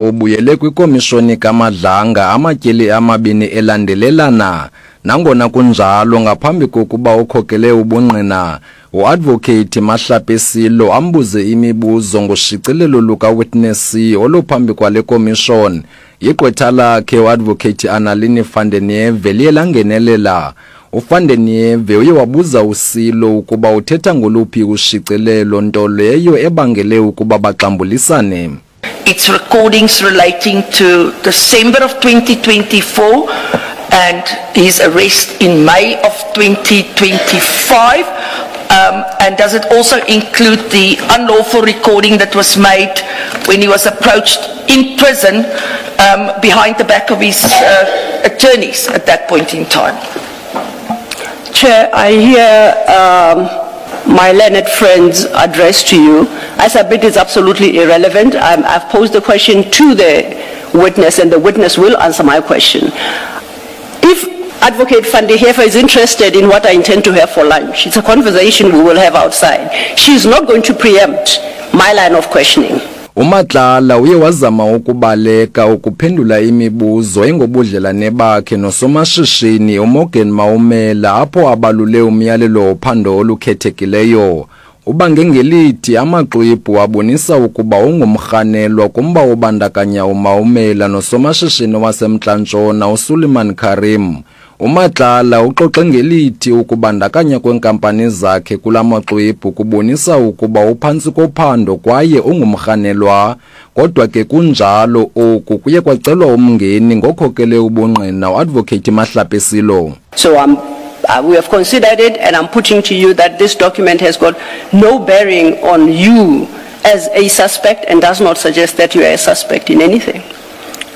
Ubuyele kwikomishoni kaMadlanga amatyeli amabini elandelelana. Nangona kunjalo, ngaphambi kokuba okhokele ubungqina, uAdvocate Mahlape Silo ambuze imibuzo ngoshicilelo lukaWitness C oluphambi kwale komishoni, igqwetha lakhe uAdvocate Annalini van der Niewe liye langenelela. UVan der Niewe uye wabuza uSilo ukuba uthetha ngoluphi ushicilelo, nto leyo ebangele ukuba baxambulisane. It's recordings relating to December of 2024 and his arrest in May of 2025. Um, and does it also include the unlawful recording that was made when he was approached in prison um, behind the back of his uh, attorneys at that point in time? Chair, I hear um, my learned friend's address to you. I submit it's absolutely irrelevant. I'm, I've posed the question to the witness and the witness will answer my question. If Advocate van der Heever is interested in what I intend to have for lunch, it's a conversation we will have outside. She's not going to preempt my line of questioning. UMatlala uye wazama ukubaleka ukuphendula imibuzo engobudlelane bakhe nosomashishini uMorgan Maumela apho abalule umyalelo wophando olukhethekileyo. Ubange ngelithi amaxwebhu abonisa ukuba ungumrhanelwa kumba obandakanya uMaumela nosomashishini waseMntla Ntshona uSuleiman Karim. UMatlala uxoxe ngelithi ukubandakanya kweenkampani zakhe kula maxwebhu kubonisa ukuba uphantsi kophando kwaye ungumrhanelwa. Kodwa ke kunjalo oku kuye kwacelwa umngeni ngokhokele ubungqina uAdvocate Mahlape Silo. So I'm, uh, we have considered it and I'm putting to you that this document has got no bearing on you as a suspect and does not suggest that you are a suspect in anything.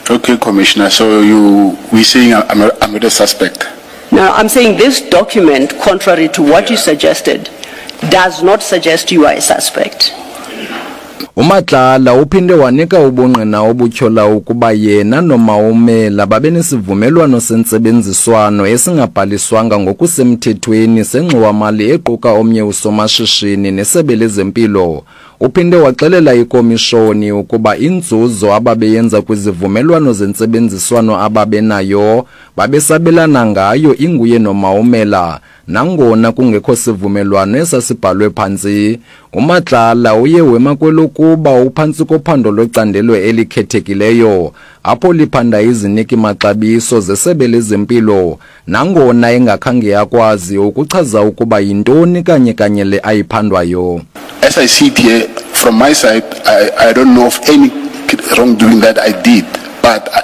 Okay, Commissioner, so you, we saying I'm not, I'm not a suspect? Now, I'm saying this document, contrary to what you suggested, does not suggest you are a suspect. UMatlala uphinde wanika ubungqina obutyhola ukuba yena noMaumela babenesivumelwano sentsebenziswano esingabhaliswanga ngokusemthethweni sengxowamali equka omnye usomashishini nesebe lezempilo. Uphinde waxelela ikomishoni ukuba inzuzo ababeyenza kwizivumelwano zentsebenziswano ababenayo babesabelana ngayo inguye noMaumela nangona kungekho sivumelwano esasibhalwe phantsi. UMatlala uye wema kwelokuba uphantsi kophando lwecandelo elikhethekileyo apho liphanda iziniki-maxabiso zesebe lezempilo nangona engakhange akwazi ukuchaza ukuba yintoni kanye kanye le ayiphandwayo. As I sit here, from my side, I, I don't know of any wrongdoing that I did, but I,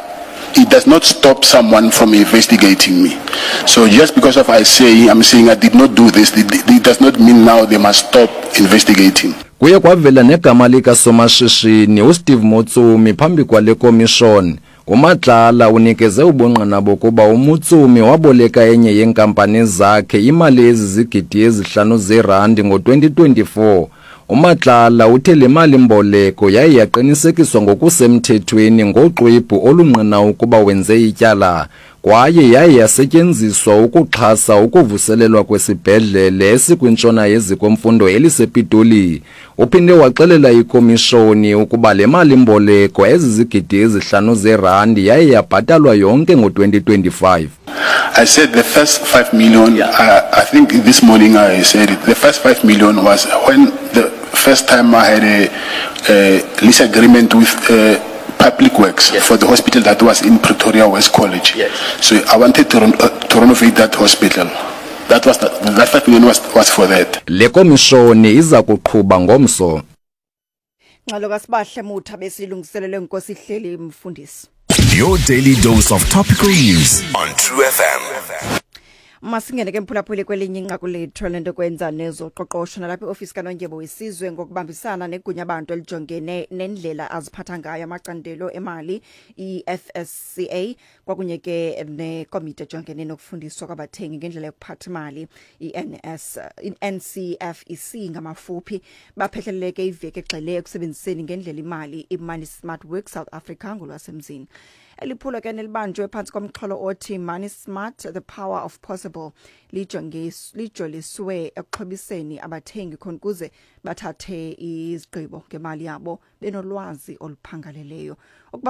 it does not stop someone from investigating me. So just because of I say, I'm saying I did not do this, it, it does not mean now they must stop investigating. Kuye kwavela negama likasomashishini uSteve Motsumi phambi kwale komishoni. UMatlala unikeze ubungqina bokuba uMotsumi waboleka enye yeenkampani zakhe imali ezizigidi ezihlanu zeerandi ngo-2024. UMatlala uthe le mali-mboleko yaye yaqinisekiswa ngokusemthethweni ngoxwebhu olungqina ukuba wenze ityala kwaye yaye yasetyenziswa ukuxhasa ukuvuselelwa kwesibhedlele esikwintshona yeziko-mfundo elisePitoli. Uphinde waxelela ikomishoni ukuba le mali-mboleko ezizigidi ezihlanu zeerandi yaye yabhatalwa yonke ngo-2025. I said the first 5 million, yeah. I, I think this morning I said it, the first 5 million was when the first time I had a, a lease agreement with uh, Public Works yes. for the hospital that was in Pretoria West College. Yes. So I wanted to, uh, to renovate that hospital. That was the, that 5 million was, was for that. Le komishoni iza kuqhuba ngomso. Ngxelo kaSibahle Mutha besilungiselele nkosi ihleli mfundisi. Your daily dose of topical news on True FM. Masingene ke mphulaphuli kwelinye inqaku lethu lento kwenza nezoqoqosho nalapha iofisi kaNondyebo wesizwe ngokubambisana negunya abantu elijongene nendlela aziphatha ngayo amacandelo emali iFSCA kwakunye ke nekomiti ejongene nokufundiswa kwabathengi ngendlela yokuphatha imali iNS iNCFEC ngamafuphi baphehleleke iveki egxile ekusebenziseni ngendlela imali iMoney Smart Work South Africa ngolwasemzini. Eliphulo ke nelibanjwe phantsi komxholo othi Money Smart the Power of Possible. Flexible lijoliswe ekuxhobiseni abathengi khona ukuze bathathe izigqibo ngemali yabo benolwazi oluphangaleleyo. Ukuba